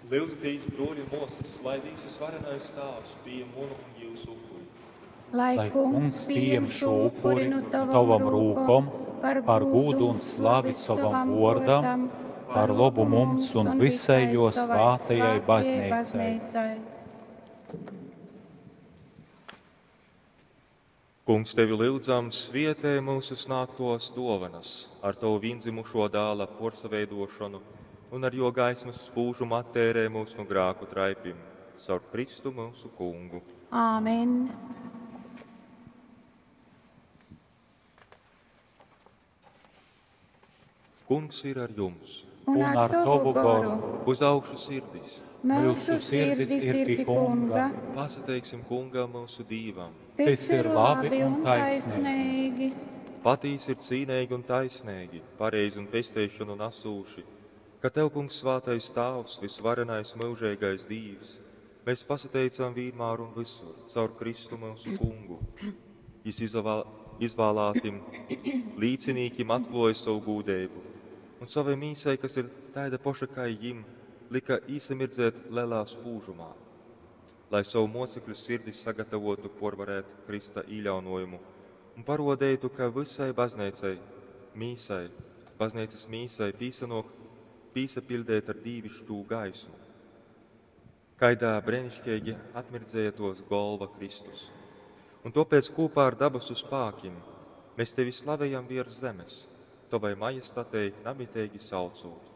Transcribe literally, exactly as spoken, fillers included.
Lyudzatīs, bruoļi un muosys, lai Dīvs Varenais Tāvs pījem munu un jiusu upuri. Lai Lai Kungs pieņem šo upuri nu tavam rūkom par gūdu un slavi sovam vuordam, par lobu mums un visai jo svātajai baznīcai. Kungs, tevi lyudzam, svietē mūsu snāgtos dovanas ar tavu viendzimušo dāla porsaveidošanu un ar jo gaismas spūžumu attērē mūs no grāku traipim, caur Kristu mūsu kungu. Āmen. Kungs ir ar jums. Un ar tavu goru. Uz augšu sirdis. Mūsu sirdis ir pie Kunga. Pasateiksim kungam mūsu Dīvam. Tas ir labi un taisnīgi. Patīs ir cīnīgi un taisnīgi, pareizi un pesteišanu nesūši, ka Tev, Kungs, svātais Tāvs, visvarenais mūžīgais Dīvs, mēs pasateicam vienmēr un visur, caur Kristu mūsu Kungu. Jis izvēl, izvēlātim līdzinīkim atklāja savu gūdību, un savai mīsai, kas ir tāda poša kā jim, lika īsamirdzēt lielā spūžumā, lai savu mocekļu sirdi sagatavotu porvarēt Krista īļaunojumu un parodētu, ka visai baznīcai, mīsai, baznīcas mīsai pīsanok, pīsapildēt ar dīvišķū gaismu. Kaidā brēnišķīgi atmirdzēja tos golva Kristus. Un topēc kopā ar dabasu spākim mēs tevi slavējam virs zemes, tavai majestatei namitīgi saucot.